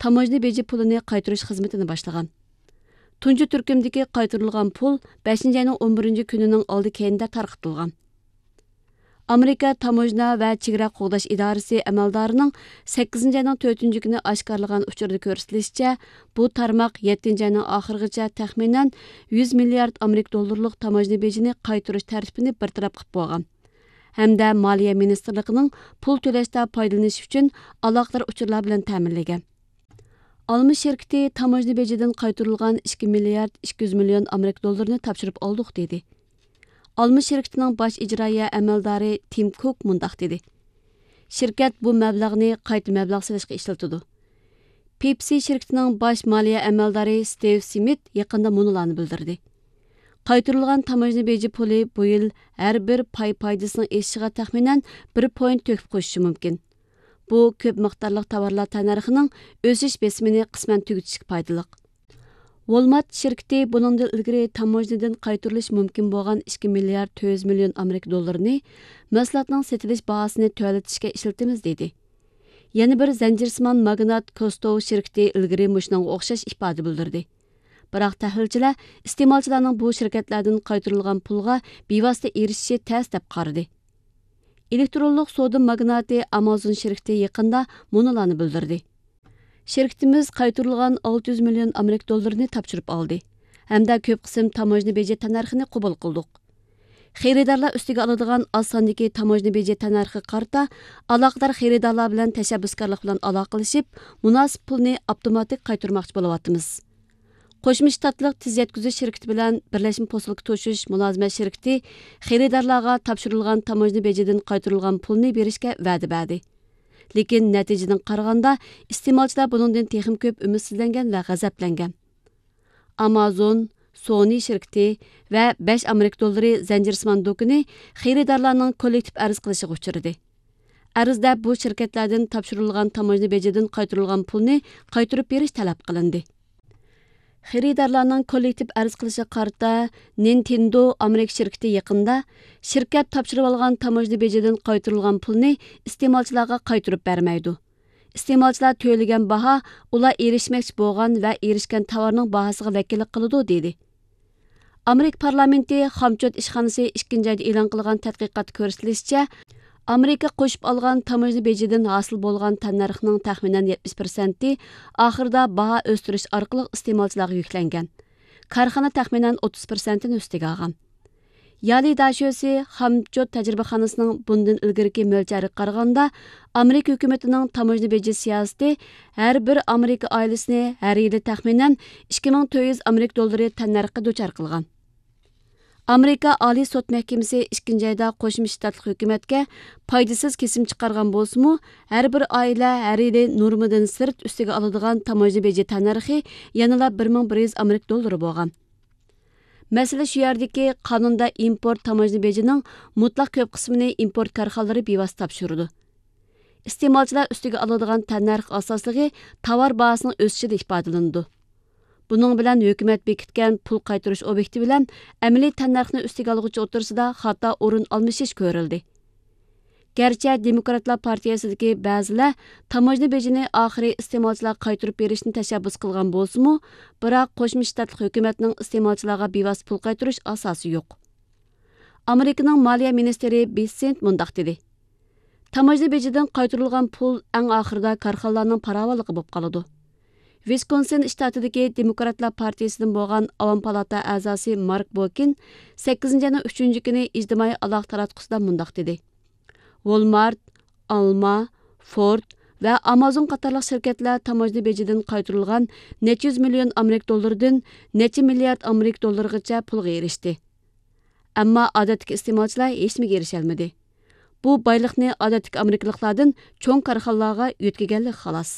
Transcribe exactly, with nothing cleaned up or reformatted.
تاموژنا بېجى پۇلىنى قايتۇرۇش خىزمىتىنى باشلىغان. تۇنجى تۈركۈمدىكى قايتۇرۇلغان پۇل بەشىنچى ئاينىڭ ئون بىرىنچى كۈنىنىڭ ئالدى كەينىدە تارقىتىلغان. ئامېرىكا تاموژنا ۋە چېگرا قوغداش ئىدارىسى ئەمەلدارىنىڭ سەككىزىنچى ئاينىڭ تۆتىنچى كۈنى ئاشكارىلىغان ئۇچۇردا كۆرسىتىلىشىچە، بۇ تارماق يەتتىنچى ئاينىڭ ئاخىرىغىچە تەخمىنەن يۈز مىليارد ئامېرىكا دوللىرىلىق تاموژنا بېجىنى قايتۇرۇش تەرتىپىنى بىر تەرەپ قىلىپ بولغان ھەمدە مالىيە مىنىستىرلىقىنىڭ پۇل تۆلەشتە پايدىلىنىش ئۈچۈن ئالاقىدار ئۇچۇرلار بىلەن تەمىنلىگەن. ئالما شىركىتى تاموژنا بېجىدىن قايتۇرۇلغان ئىككى مىليارد ئىككى يۈز مىليون ئامېرىكا دوللىرىنى تاپشۇرۇپ ئالدۇق، دېدى. ئالما شىركىتىنىڭ باش ئىجرائىيە ئەمەلدارى تىم كۇك مۇنداق دېدى: شىركەت بۇ مەبلەغنى قايتا مەبلەغ سېلىشقا ئىشلىتىدۇ. پېپسى شىركىتىنىڭ باش مالىيە ئەمەلدارى ستىۋ سمىت يېقىندا مۇنۇلارنى بىلدۈردى: قايتۇرۇلغان تاموژنا بېجى پۇلى بۇ يىل ھەر بىر پاي پايدىسىنىڭ ئېشىشىغا تەخمىنەن بىر پوينت تۆھپە قوشۇشى مۇمكىن. بۇ كۆپ مىقدارلىق تاۋارلار تەننەرخىنىڭ ئۆسۈش بېسىمىنى قىسمەن تۈگىتىشكە پايدىلىق. ۋولمارت شىركىتى بۇنىڭدىن ئىلگىرى تاموژنىدىن قايتۇرۇلۇشى مۇمكىن بولغان ئىككى مىليارد تۆت يۈز مىليون ئامېرىكا دوللىرىنى مەھسۇلاتنىڭ سېتىلىش باھاسىنى تۆۋەنلىتىشكە ئىشلىتىمىز، دېدى. يەنە بىر زەنجىرسىمان ماگنات كوستوۋ شىركىتى ئىلگىرى مۇشۇنىڭغا ئوخشاش ئىپادە بىلدۈردى. بىراق تەھلىلچىلەر ئىستېمالچىلارنىڭ بۇ شىركەتلەردىن قايتۇرۇلغان پۇلغا بىۋاسىتە ئېرىشىشى تەس دەپ قارىدى. ئېلېكترونلۇق سودا ماگناتى ئامازون شىركىتى يېقىندا مۇنۇلارنى بىلدۈردى: شىركىتىمىز قايتۇرۇلغان ئالتە يۈز مىليون ئامېرىكا دوللىرىنى تاپشۇرۇپ ئالدى ھەمدە كۆپ قىسىم تاموژنا بېجى تەننەرخىنى قوبۇل قىلدۇق. خېرىدارلار ئۈستىگە ئالىدىغان ئاز ساندىكى تاموژنا بېجى تەننەرخىگە قارىتا ئالاقىدار خېرىدارلار بىلەن تەشەببۇسكارلىق بىلەن ئالاقىلىشىپ، مۇناسىپ پۇلنى ئاپتوماتىك قايتۇرماقچى بولۇۋاتىمىز. قوشما شتاتلىق تېز يەتكۈزۈش شىركىتى بىلەن بىرلەشمە پوسۇلكا توشۇش مۇلازىمەت شىركىتى خېرىدارلارغا تاپشۇرۇلغان تاموژنا بېجىدىن قايتۇرۇلغان پۇلنى بېرىشكە ۋەدە بەردى. لېكىن نەتىجىدىن قارىغاندا، ئىستېمالچىلار بۇنىڭدىن تېخىمۇ كۆپ ئۈمىدسىزلەنگەن ۋە غەزەپلەنگەن. ئامازون، سونى شىركىتى ۋە بەش ئامېرىكا دوللىرى زەنجىرسىمان دۇكىنى خېرىدارلارنىڭ كوللېكتىپ ئەرز قىلىشىغا ئۇچرىدى. ئەرزدە بۇ شىركەتلەردىن تاپشۇرۇلغان تاموژنا بېجىدىن قايتۇرۇلغان پۇلنى قايتۇرۇپ بېرىش تەلەپ قىلىندى. خېرىدارلارنىڭ كوللېكتىپ ئەرز قىلىشىغا قارىتا، نىنتېندو ئامېرىكا شىركىتى يېقىندا شىركەت تاپشۇرۇۋالغان تاموژنا بېجىدىن قايتۇرۇلغان پۇلنى ئىستېمالچىلارغا قايتۇرۇپ بەرمەيدۇ. ئىستېمالچىلار تۆلىگەن باھا ئۇلار ئېرىشمەكچى بولغان ۋە ئېرىشكەن تاۋارنىڭ باھاسىغا ۋەكىللىك قىلىدۇ، دېدى. ئامېرىكا پارلامېنتى خامچوت ئىشخانىسى ئىككىنچى ئايدا ئېلان قىلغان تەتقىقاتتا كۆرسىتىلىشىچە، ئامېرىكا قوشۇپ ئالغان تاموژنا بېجىدىن ھاسىل بولغان تەننەرخنىڭ تەخمىنەن يەتمىش پىرسەنتى ئاخىرىدا باھا ئۆستۈرۈش ئارقىلىق ئىستېمالچىلارغا يۈكلەنگەن. كارخانا تەخمىنەن ئوتتۇز پىرسەنتىنى ئۈستىگە ئالغان. يالى داشۆسى خامچوت تەجرىبىخانىسىنىڭ بۇندىن ئىلگىرىكى مۆلچەرگە قارىغاندا، ئامېرىكا ھۆكۈمىتىنىڭ تاموژنا بېجى سىياسىتى ھەر بىر ئامېرىكا ئائىلىسىنى ھەر يىلى تەخمىنەن ئىككى مىڭ تۆت يۈز ئامېرىكا دوللىرى تەننەرخقە دۇچار قىلغان. ئامېرىكا ئالىي سوت مەھكىمىسى ئىككىنچى ئايدا قوشما شتاتلىق ھۆكۈمەتكە پايدىسىز كېسىم چىقارغان بولسىمۇ، ھەر بىر ئائىلە ھەر يىلى نورمىدىن سىرت ئۈستىگە ئالىدىغان تاموژنا بېجى تەننەرخى يەنىلا بىر مىڭ بىر يۈز ئامېرىكا دوللىرى بولغان. مەسىلە شۇ يەردىكى، قانۇندا ئىمپورت تاموژنا بېجىنىڭ مۇتلەق كۆپ قىسمىنى ئىمپورت كارخانىلىرى بىۋاسىتە تاپشۇرىدۇ. ئىستېمالچىلار ئۈستىگە ئالىدىغان تەننەرخ ئاساسلىقى تاۋار باھاسىنىڭ ئۆسۈشىدە ئىپادىلىنىدۇ. بۇنىڭ بىلەن ھۆكۈمەت بېكىتكەن پۇل قايتۇرۇش ئوبيېكتى بىلەن ئەمەلىي تەننەرخنى ئۈستىگە ئالغۇچى ئوتتۇرىسىدا خاتا ئورۇن ئالمىشىش كۆرۈلدى. گەرچە دېموكراتلار پارتىيىسىدىكى بەزىلەر تاموژنا بېجىنى ئاخىرى ئىستېمالچىلارغا قايتۇرۇپ بېرىشنى تەشەببۇس قىلغان بولسىمۇ، بىراق قوشما شتاتلىق ھۆكۈمەتنىڭ ئىستېمالچىلارغا بىۋاسىتە پۇل قايتۇرۇش ئاساسى يوق. ئامېرىكىنىڭ مالىيە مىنىستىرى بېسسېنت مۇنداق دېدى: تاموژنا بېجىدىن قايتۇرۇلغان پۇل ئەڭ ئاخىرىدا كارخانىلارنىڭ پاراۋانلىقى بولۇپ قالىدۇ. ۋىسكونسىن شتاتىدىكى دېموكراتلار پارتىيىسىدىن بولغان ئاۋام پالاتا ئەزاسى مارك بوكىن سەككىزىنچى ئاينىڭ ئۈچىنچى كۈنى ئىجتىمائىي ئالاقە تاراتقۇسىدا مۇنداق دېدى: ۋولمارت، ئالما، فورد ۋە ئامازون قاتارلىق شىركەتلەر تاموژنا بېجىدىن قايتۇرۇلغان نەچچە يۈز مىليون ئامېرىكا دوللىرىدىن نەچچە مىليارد ئامېرىكا دوللىرىغىچە پۇلغا ئېرىشتى. ئەمما ئادەتتىكى ئىستېمالچىلار ھېچنېمىگە ئېرىشەلمىدى. بۇ بايلىقنى ئادەتتىكى ئامېرىكىلىقلاردىن چوڭ كارخانىلارغا يۆتكىگەنلىك خالاس.